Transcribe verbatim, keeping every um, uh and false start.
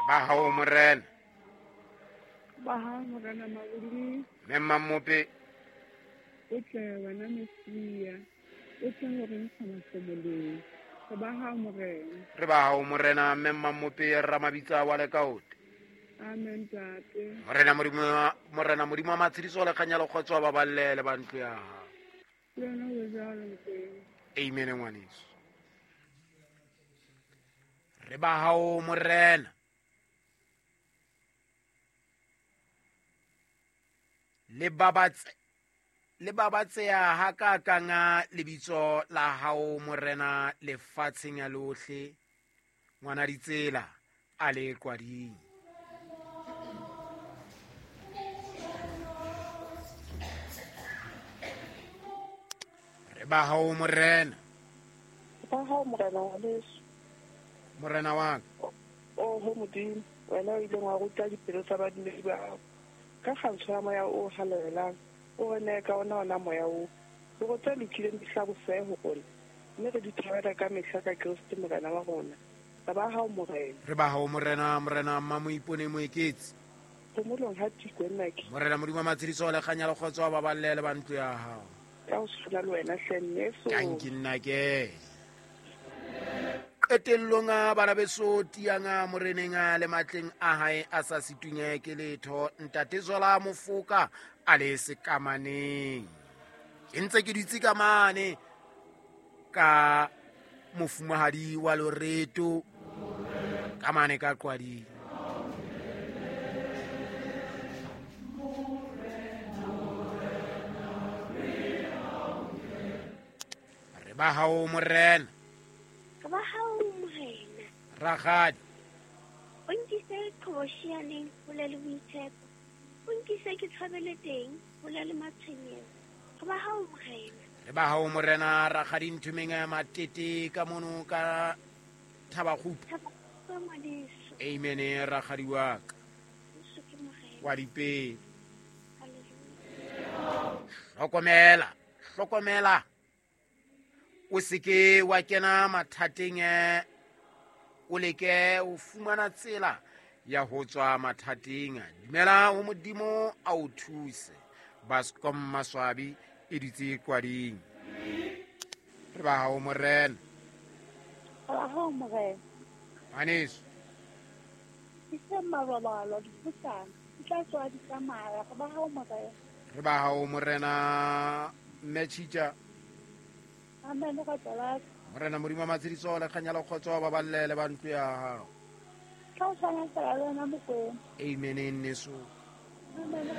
Ba hao morena. Ba hao morena Mabuli. Mme Mmamope. O tle wena Mesia. O tle ho re ntsha mahlomoleng. Re ba hao morena. Re ba hao morena mme Mmamope Ramabitsa wa Lekaote. Amen tate. Morena Modimo morena Modimo wa matshediso le kganya le kgotso ba balle le ba ntlo ya hao. Le wena o jwalo Mokwena. Amen ngwaneso. Re ba hao morena. Le babatse le babatseha ha ka kanga lebitso la hao morena lefatsheng ya lohle ngwana ditsela a le qwading. Re ba hao morena. Ba hao morena wa leso. Morena wa ka. O ho Modimo wena o ileng wa ruta dipelo tsa badumedi ba hao ka kgantsho ya moya o halalelang o re neye ka ona ona moya oo hore tse lokileng di hlabosehe ho rona mme re di thabela ka mehla ka Kreste morena wa rona. Re ba hao morena. Re ba hao morena morena Mmamoipone Moeketsi. Phomolong ha Tikwe nnake. Morena Modimo wa matshediso le kganya le kgotso ba balle le ba ntlo ya hao. Ka ho tshwana le wena hle nneso. Tanki nnake. Qetellong a bana beso tiang a moreneng a le matleng a hae a sa situnye ke letho ntate Zola Mofoka a le sekamaneng. Ke ntse ke dutse ka mane ka mofumahadi wa Loreto ka mane ka Qwading. Re ba hao morena. Re ba hao morena. Rakgadi. O nkise qhobosheaneng hole le boitshepo. O nkise ke tshabele teng hole le matshwenyeho. Re ba hao morena. Re ba hao morena rakgadi Nthomeng ya Matete ka mono ka Thabakgupu. Thabakgupu ngwaneso. Amen rakgadi wa ka. Jesu ke morena. Wa dipele. Hallelujah. Hlokomela, hlokomela. O seke wa kena mathateng o leke o fumana tsela ya ho tswa mathateng. Dumela ho Modimo a o thuse. Baskom Maswabi e dutse Qwading. Re ba hao morena. Re ba hao morena. Ngwaneso. Ke se marobalo diputsana di tla tswa di tsamaya. Re ba hao morena. Re ba hao morena mme Tjitja. Amen ka tsala. Morena Modimo wa matshediso le kganya le kgotso ba balle le ba ntlo ya hao. Ka ho tshwana le wena Mokwena. Amen nneso. Amen.